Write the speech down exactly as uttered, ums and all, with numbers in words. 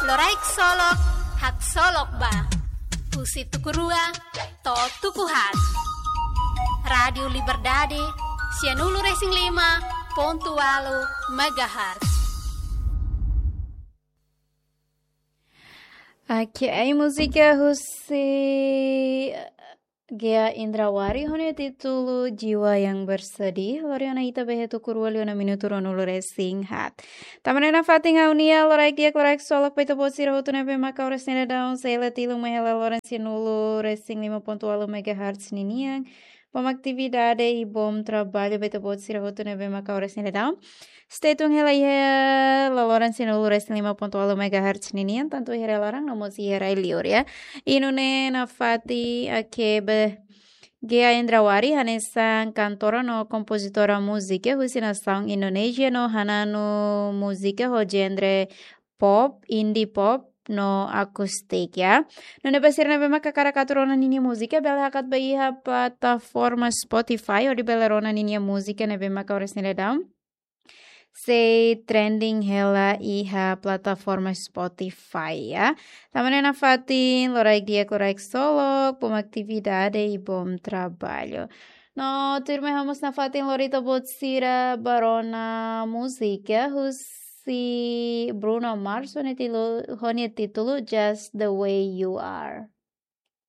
Loraik Solok, haksolok ba. Husi tuku rua to'o tuku haat. Rádiu Liberdade, sianulu-resin-lima pontu ualu megahertz. Oke, ai múzika husi Gea Indrawari ho nia títulu Jiwa yang Bersedih, lori ona ita ba iha tuku rua liu ona minutu ruanulu-resin-haat. Tanba ne'e nafatin ha'u-nia loraik di'ak, loraik solok ba ita-boot sira hotu ne'ebé maka oras ne'e daudaun sei la tilun mai hela loron sianulu-resin-lima pontu ualu megahertz ninian. Bom atividade i bom trabalho ba ita-boot sira hotu ne'ebé maka oras ne'e daudaun sei tun hela iha laloran sianulu-resin-lima pontu ualu megahertz ninian, tantu iha rai-laran no mós iha rai-liur, ya. I nune'e nafatin Ake be Gea Indrawari hanesan kantora no kompozitora múzika husi nasaun Indonézia no hananu múzika ho genre pop, indie pop no akustik, ya. Nune'e ba sira ne'ebé maka hakarak atu rona ninia múzika, bele hakat ba iha plataforma Spotify hodi bele rona ninia múzika ne'ebé maka oras ne'e daudaun sei trending hela iha plataforma Spotify, ya. Tanba ne'e nafatin loraik di'ak, loraik solok, bom atividade i bom trabalho. No tuirmai ha'u mós nafatin lori ita-boot sira ba rona múzika husi Bruno Mars ho nia títulu, ho nia títulu Just the Way You Are.